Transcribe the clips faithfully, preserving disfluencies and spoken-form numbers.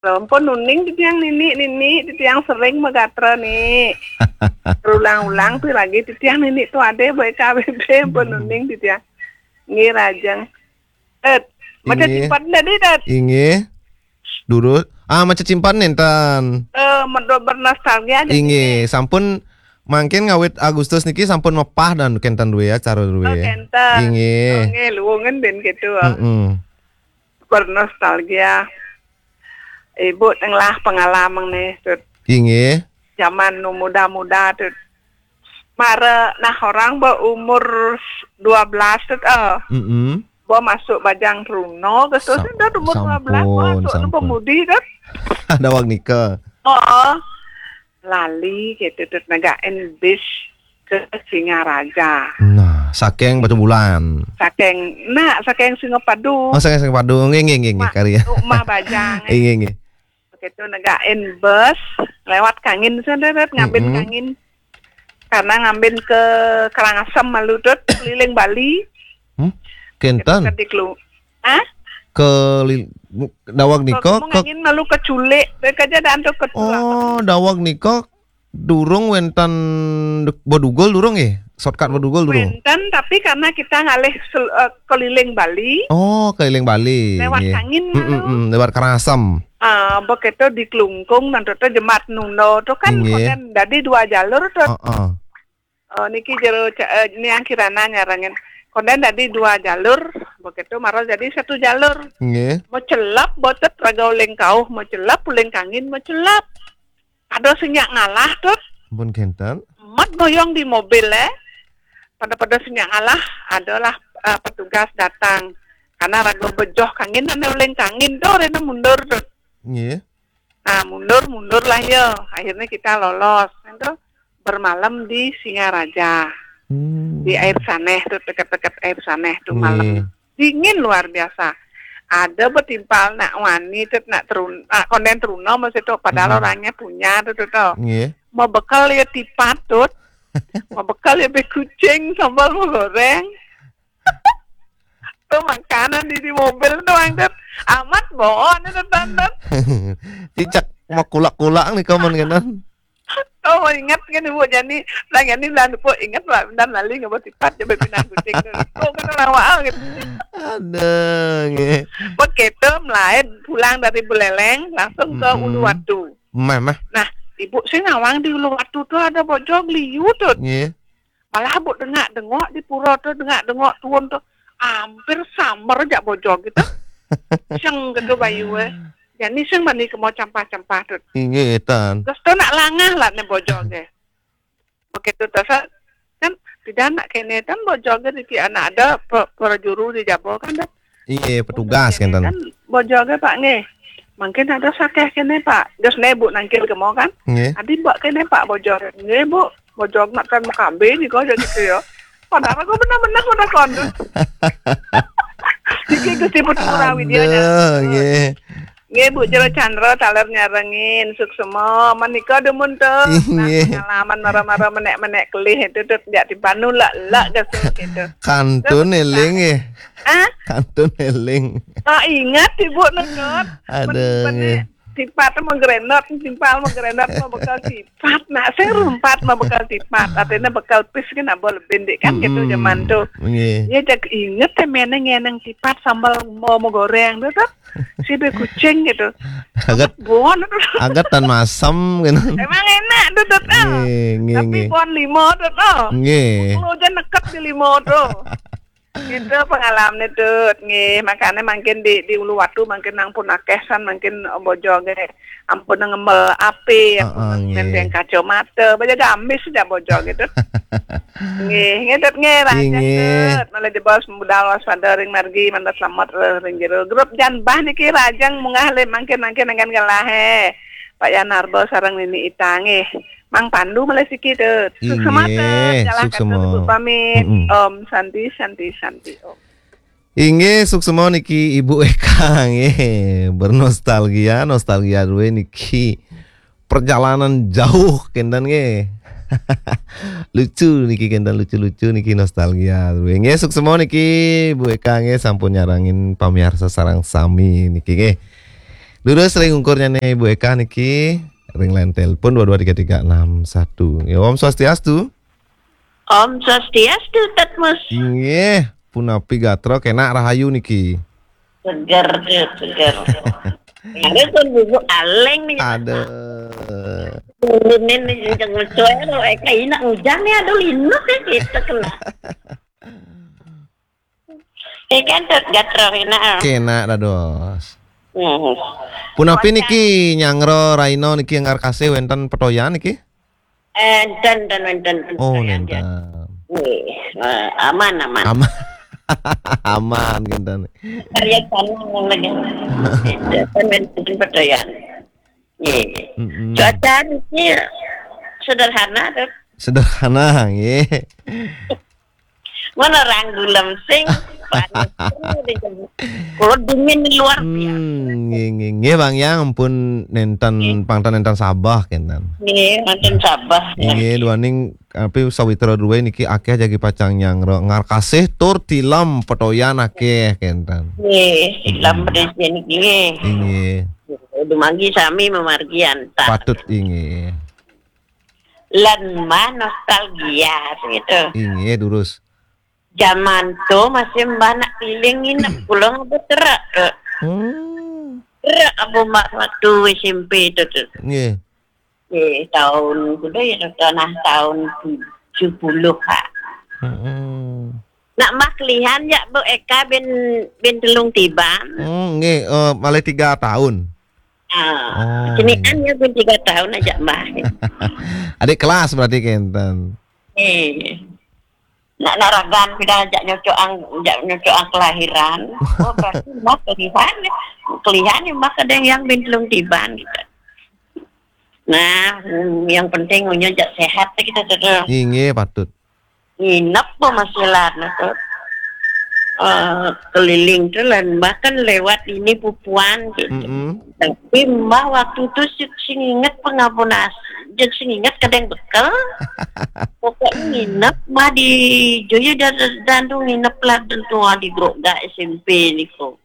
Ampun nuning titiang nini, nini titiang sering magatra ni. Berulang-ulang tu lagi titiang nini tu ada baik K B B ampun nuning titiang. Nggih rajang. Eh, macam Inggih. Simpan tadi dat. Inggih. Durus. Ah, macam simpan nenten. Eh, medo bernostalgia aja. Inggih, sampun mangkin ngawit Agustus niki sampun mepah dan kenten duwe acara duwe. Oh, kenten. Inggih. Oh, nggih, luwungen den gitu. Mm-mm. Bernostalgia. Ibu tenglah pengalaman nih, Tut. Inggih. Zaman nu muda-muda, Tut. Mara nah orang berumur dua belas, Tut, eh. Mm-mm. Bo masuk bajang Truno, ke Sam-, sudah umur dua belas, bo sampun, masuk sampun. Pemudi, Tut. Ada wag nika. Oh, lali gitu, Tut, negain bis ke Singaraja. Nah, saking batu bulan. Saking, nah, saking Singapadu. Oh, saking Singapadu. Nggih, nggih, nggih, nggih, Mak, kari. Rumah bajang. Inggih, nggih. Begitu negain bus, lewat Kangin, sudah, Tut, ngambin Mm-mm. Kangin. Karena ngambin ke Karangasem malu, Tut, keliling Bali. Hmm? Kenten? Ke Diklu. Ah? Ke li-, dawag nika ke, ke Kangin malu ke Culik, mereka aja dan tuh ke Culik. Oh, dawag nika durung wenten Bedugul durung nggih? Shortcut Bedugul durung? Wenten, tapi karena kita ngalih sel-, eh, keliling Bali. Oh, keliling Bali. Lewat nggih. Kangin mm, malu. Mm, mm, lewat Karangasem. Ah, begitu di Klungkung nanti tuh Jemat Nundo tuh kan nggih. Konden dadi dua jalur tuh. Heeh. Eh, niki jero ca-, eh, niang Kirana nyarengin. Konden dadi dua jalur, begitu mara jadi satu jalur. Nggih. Mau celap botet raga uling kauh, mau celap uling Kangin, mau celap. Ada sing nyak ngalah, Tut. Ampun kenten. Mat goyong di mobil, eh. Pada-pada sing nyak ngalah, adalah, eh, petugas datang. Karena raga bejoh Kangin, ane uling Kangin, tuh, rena mundur, Tut. Nggih. Nah, mundur, mundur lah ya. Akhirnya kita lolos. Itu bermalam di Singaraja. Hmm. Di air saneh tuh, deket-deket air saneh tuh malam. Nggih. Dingin luar biasa. Ada betimpal nak wani tuh, nak terun-, nak konden Truno masih tuh, padahal mm-mm. Orangnya punya tuh, tuh, tuh. Nggih. Mau bekal ya tipat tuh. Mau bekal ya be kucing, sambal mau goreng. Tuh makanan di, di mobil tuh, Mang Tut. Amat bohong tuh, Tut, Tut. Cicak mau kulak-kulak nih kamu kenen. Oh, ingat kan Ibu Jani, lah Jani lah lupa ingat lah, bentar lali nggak mau tipat coba pinang kucing tuh. Oh, kan lawak gitu. Ada nggih. Begitu mulai pulang dari Buleleng langsung ke mm-mm. Uluwatu. Mah, mah. Nah, Ibu sih nawang di Uluwatu tuh ada bojog liu tuh. Nggih. Malah Bu dengak-dengok di pura tu, dengak-dengok tuun tu. Hampir samar jak bojog gitu. Seng gitu bayu eh. Jani seng mani kemo campah-campah tu. Inggih, tan. Terus tu nak langah lah ne bojog eh. Begitu tu sa-, kan tidak nak kene tan bojog eh, niki anak ada pe-, perjuru di Jabo kan dah. Iya, petugas kan, kan bojog eh, Pak, nggih. Mungkin ada sakeh kene, Pak. Terus ne Bu nangkil kemo kan? Nggih. Adi Mbak kene, Pak, bojog. Nggih, Bu. Bojog nak kan makambe ni kok jadi gitu ya. Padahal aku benar-benar udah kon. Iki Gusti Putu Kurawi dia. Aduh, nggih. Nggih, Bu Jero Chandra taler nyarengin suksema menika dumun tu. Nah, nggih. Pengalaman mara-mara menek-menek kelih itu tu jak timpanu lak-lak gitu. Kantun eling nggih. Ah? Kantun eling. Ah, ingat Ibu nutut. Ada. Tipat mau gerenot, timpal mau gerenot, mau bekal tipat. Nak serumpat mau bekal tipat. Artinya bekal pis kan nak boleh bendik kan gitu zaman tu. Nggih. Ya, jak inget ya meneng ngeneng tipat sambal mau, mau goreng tu tu. Si be kucing gitu. Agat, bon tu. Agat tan masam gitu. Emang enak tu tu tu. Nggih, nggih, tapi nggih. Bon limo tu tu. Nggih. Kalau aja neket di limo tu. Itu pengalaman itu, nggih. Makanya mungkin di, di Uluwatu mungkin nang pun akeh san, mungkin bojog eh. Ampun ngembel api, ampun heeh, nggih. Ngendeng kacamata, baja gamis sejak bojog gitu. Nggih, nggih, Tut, nggih, rajang, nggih. Tut. Malah jebos budal waspada ring margi, mantap selamat, eh, ring jero. Grup jan bah niki rajang munggah le mungkin, mungkin dengan gelah eh. Pak Yanarbo sareng Nini Ita, nggih. Mang Pandu malah siki tu. Suksema tu, inggih, jalan suksema. Kata pamit. Mm-mm. Om Santi, Santi, Santi, Om. Inggih, suksema niki Ibu Eka, nggih. Bernostalgia, nostalgia duwe niki. Perjalanan jauh, kenten, nggih. Lucu niki, kenten lucu-lucu niki, nostalgia duwe. Nggih, suksema niki Ibu Eka, nggih, sampun nyarengin pamiarsa sareng sami niki, nggih. Durus ring ungkurnya nih Bu Eka niki, ring line telepon dua dua tiga tiga enam satu. Ya, Om Swastiastu. Om Swastiastu, Tatmus. Nggih, punapi gatra, kenak rahayu niki. Seger, seger. Ada pun bubu aleng nih. Aduh. Turunin nih, jangan suara, eh, kayak enak hujan nih, aduh, linus ya, gitu kena. Eh, kan, Tut, gatra, enak, ah. Kenak dados. Hmm. Punapi niki nyanggra raina niki enggar kasih wenten petoyan niki? Eh, enten, enten, enten, enten. Oh, petoyan, nenten. Nggih, eh, aman, aman. Aman. Aman, ngenten. Karya tanah yang lagi. Enten, enten, petoyan. Nggih. Mm-mm. Cuaca niki sederhana, Tut. Sederhana, nggih. Mana orang gulem sing panas. Kalau dingin luar biasa. Hmm, nggih, nggih, nggih, Bang, ya, ampun nenten, nggih, pangtan nenten sabeh kenten. Nggih, nenten sabeh. Nggih, duaning, tapi sawitra druwe niki akeh jagi pacang nyanggra, enggar kasih tur tilem petoyan akeh kenten. Nggih, tilem, mm-mm, pedis niki, nggih. Inggih. Dumargi sami mamargi antar. Patut, inggih. Lan mah nostalgia gitu. Inggih, durus. Zaman tu masih mbah nak keliling nginep, kula ngabut terak, Tut. Hmm. Terak abu mbah waktu S M P tu, Tut. Nggih. Eh, tahun kuda ya, Tut, nah, tahun tujuh puluh, ha. Mm-mm. Nak mbah kelihan ya, Bu Eka bin, bin Telung Tiban. Hmm, nggih, eh, malih tiga tahun. Ah, oh, senian nggih. Ya, bin tiga tahun aja, Mbah. Adik kelas berarti kenten. Eh. Nak naragan pida ajak nyocok ang, ajak nyocok ang kelahiran. Oh, berarti Mbah kelihan. Kelihan ya, Mbah, kadang yang bin Telung Tiban gitu. Nah, yang penting unya ajak sehat kita, Tut. Inggih, patut. Nginep po masih lah, nah, Tut. Eh, keliling tu lah, bahkan lewat ini pupuan gitu. Mm-mm. Tapi mbah waktu tu sing, sing inget pengabun as-, sing inget kadang bekel. Pokoknya nginep mbah di Joyo dan, dan tu nginep lah, dan tu di Groga S M P niko.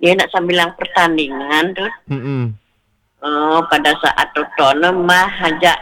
Dia nak sambilang pertandingan tu. Mm-mm. Oh, pada saat totoné mah ajak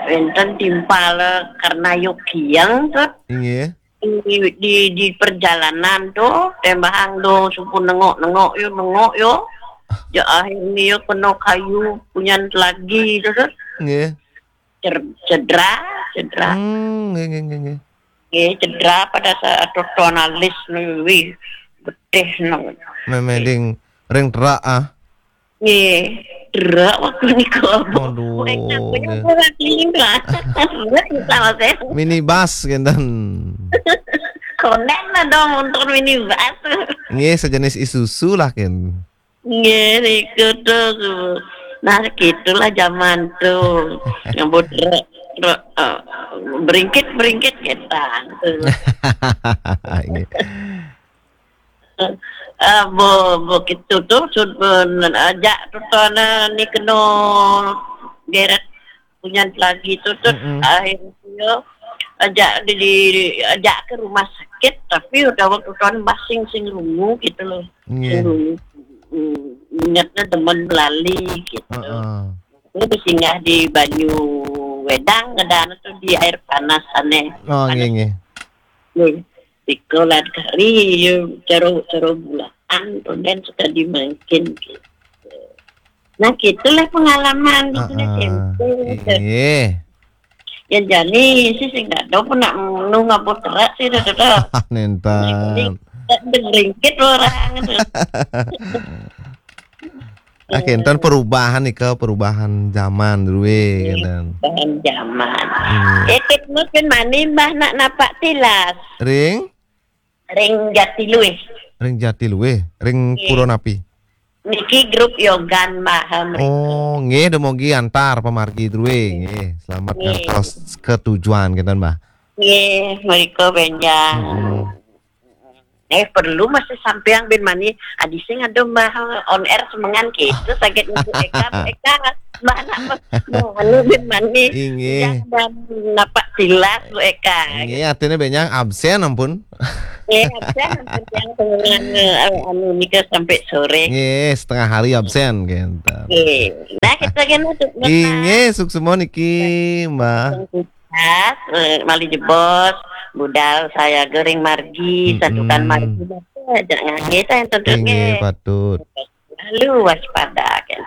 wénten timpal karena yogiang, Tut. Inggih. Di, di, di perjalanan tuh, tembahang do, suku nengok-nengok yo, nengok yo. Ya akhirnya yo kena kayu punyan lagi tu, Tut. Nggih. Cer-, cedera, cedera. Hmm, nggih, nggih, nggih, nggih. Nggih, cedera pada saat totoné alis nu, wih, getih nu. Memeding ring terak, ah. Nggih, terak waktu niku, Bu. Waduh, nggih. Terak sama saya. Minibus kenten. Konen lah dong untuk minibus. Nggih, sejenis Isuzu lah, ken. Nggih, niku tuh. Nah, gitulah zaman tuh. Nyebut re-, re-, eh, beringkit-beringkit gitu. Nggih. Eh, bo, bo gitu tuh, sud-, ben-, ajak tuh, tuh, nah, ni kena geret punyan lagi tu, Tut. Mm-mm. Akhirnya ajak di, di, ajak ke rumah sakit, tapi udah waktu tahun basing sing rungu gitu loh. Nggih. Sing rungu. Hmm, ingatnya teman belali gitu. Heeh. Ini singgah di Banyu Wedang, ada tu di air panas aneh. Oh, panas. Nggih, nggih. Nggih. Di kolat kari, yo, caro, caro bulaan, kemudian suka dimakan gitu. Nah, gitulah pengalaman di sini. Ah, ah. Tempo. Iya. Ya, jani sih, sing nggak tahu pun nak nunggu ngabut terak sih, dah, dah, dah. Nenten. Ringkit orang tu. Ah, kenten perubahan nih, ke perubahan zaman dulu, eh, iya, kenten. Perubahan zaman. Iya. Eh, Tut, mungkin mani mbah nak napak tilas. Ring? Ring Jatiluwih. Ring Jatiluwih, ring, nggih, pura napi? Niki grup Yogan Maha mriki. Oh, nggih, dumogi antar pamargi druwe, nggih. Selamat, nggih, ngantos ke tujuan kenten, Mbah. Nggih, mriko benjang. Mm-mm. Eh, perlu masih sampeang bin mani, adi sing ada Mbah on air semengan gitu, sakit ibu Eka, Bu Eka. Mana mau anu bin mani. Inggih. Yang dan napak silas Bu Eka. Inggih, artinya benyang absen ampun. Ya, saya hampir yang pengenangan eh, anu nikah sampai sore. Nggih, setengah hari absen gitu. Oke. Nah, kita kan untuk Inggih, suksma niki, Mbah. Mas, eh, Mali Jebos, budal saya gering margi, Mm-mm. santukan margi, aja ngangge saya tentu Inggih, nggih. Patut. Lalu waspada kan.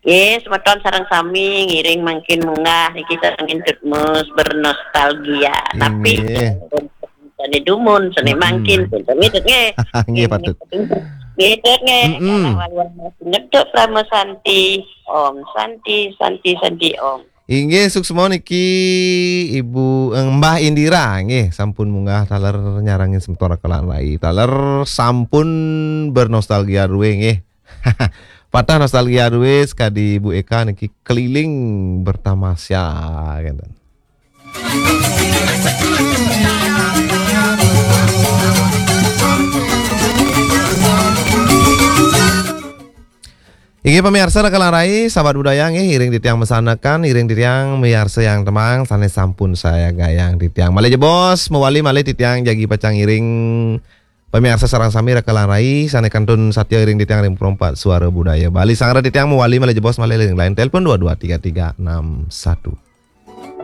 Yes, semeton sareng sami ngiring mangkin munggah niki sareng Intut Mus bernostalgia. Tapi Inggih. seni dumun, seni Mm-mm. mangkin, pinten nggih. Nggih, Patut. Nggih, nggih. Mm-mm. Kalau waluan masih ngeduk Rama Santi, Om Santi, Santi, Santi, Om. Inggih, suksma niki Ibu eh, Mbah Indira nggih, sampun munggah taler nyarengin semeton Raka Lan Rai. Taler sampun bernostalgia duwe nggih. Patah nostalgia duwe sekadi Ibu Eka niki keliling bertamasya gitu. Inggih pamiarsa Raka Lan Rai, sahabat budaya nggih, iring titiang mesanekan, iring titiang miarsa yang temang, sane sampun saya gayang titiang. Malih jebos, mewali malih titiang jagi pacang iring pamiarsa sareng sami Raka Lan Rai, sane kantun satya iring titiang ring perompat suara budaya Bali. Sanggra titiang mewali malih jebos malih ring line telepon dua dua tiga tiga enam satu.